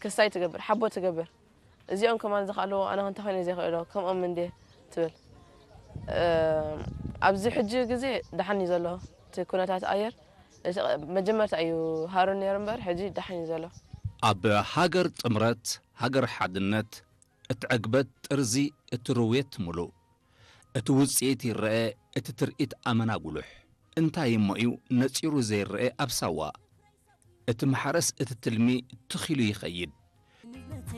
ክስታይ ትገብር፣ ሓቦ ትገብር። እዚኦም ከማን ዝኽኣልዎ ኣነ ክንተ ኮይነ ዘይኽእሎ፣ ከምኦም እንዴ ትብል። ኣብዚ ሕጂ ግዜ ደሓን እዩ ዘሎ እቲ ኩነታት ኣየር። እቲ መጀመርታ እዩ ሃሩን ነይሩ እምበር፣ ሕጂ ደሓን እዩ ዘሎ። ኣብ ሃገር ጥምረት፣ ሃገር ሓድነት፣ እትዕግበት ጥርዚ፣ እትርውየት ምሉእ። እቲ ውጽኢት ይረአ፣ እቲ ትርኢት ኣመና ጉሉሕ። እንታይ እሞ እዩ ነጺሩ ዘይረአ ኣብ ሳዋ? እቲ ማሕረስ እቲ ትልሚ ትኺሉ ይኸይድ።